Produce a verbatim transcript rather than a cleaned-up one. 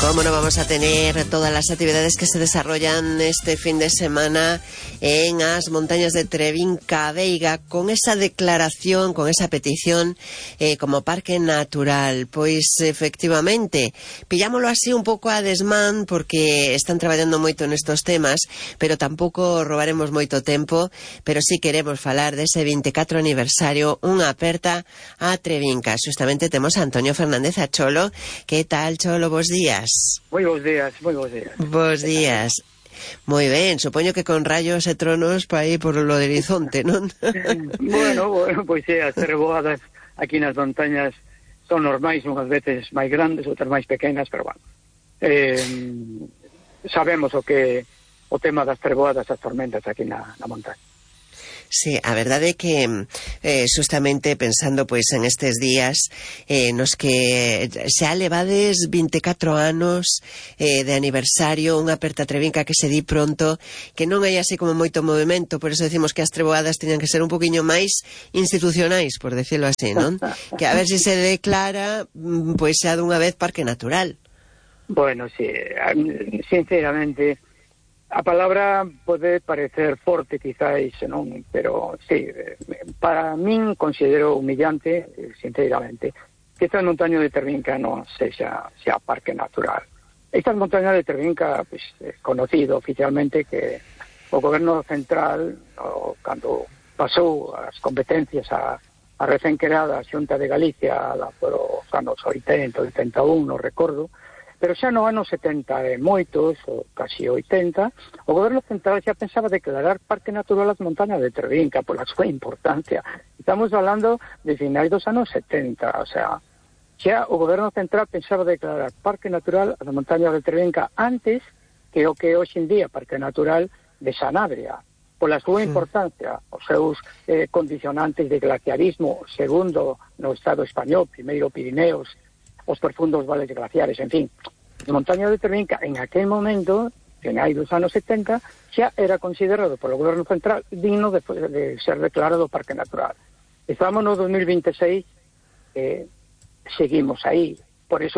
Cómo no vamos a tener todas las actividades que se desarrollan este fin de semana en las montañas de Trebinca Veiga, con esa declaración, con esa petición eh, como parque natural. Pois efectivamente, pillámoslo así un pouco a desmán, porque están traballando moito nestos temas, pero tampouco robaremos moito tempo, pero sí queremos falar dese vinte e catro aniversario, unha aperta a Trebinca. Justamente temos a Antonio Fernández, a Cholo. Que tal, Cholo? Bos días. Moi bons días, moi bons días. Bos días. Moi ben, supoño que con rayos e tronos para aí por lo de Horizonte, non? bueno, bueno, pois é, as treboadas aquí nas montañas son normais, unhas veces máis grandes, outras máis pequenas, pero bueno, eh, sabemos o que o tema das treboadas, as tormentas aquí na, na montaña. Sí, a verdade é que eh, justamente pensando pois en estes días eh, nos que xa levades vinte e catro anos eh, de aniversario, unha aperta Trebinca que se di pronto, que non hai así como moito movimento, por eso decimos que as treboadas teñan que ser un poquinho máis institucionais, por decirlo así, non? Que a ver se se declara pois xa dunha vez parque natural. Bueno, sí, sinceramente a palabra pode parecer forte quizáis, non? Pero sí, para min considero humillante, sinceramente, que esta montaña de Trebinca non sexa, sea parque natural. Esta montaña de Trebinca, pues, é conocido oficialmente que o goberno central, o, cando pasou as competencias a, a recén creada Xunta de Galicia la, por os anos oitenta, oitenta e un, non recordo, pero xa no ano setenta e moitos, ou casi oitenta, o goberno central xa pensaba declarar parque natural as montañas de Trebinca pola súa importancia. Estamos falando de finais dos anos setenta, o sea, xa o goberno central pensaba declarar parque natural as montañas de Trebinca antes que o que hoxe en día parque natural de Sanabria, pola súa importancia, os seus eh, condicionantes de glaciarismo, segundo no Estado español, primeiro Pirineos, os profundos vales glaciares, en fin. A montaña de Trebinca, en aquel momento, finais dos anos setenta, xa era considerado polo goberno central digno de, de ser declarado parque natural. Estamos no dos mil vinte e seis, eh, seguimos aí. Por eso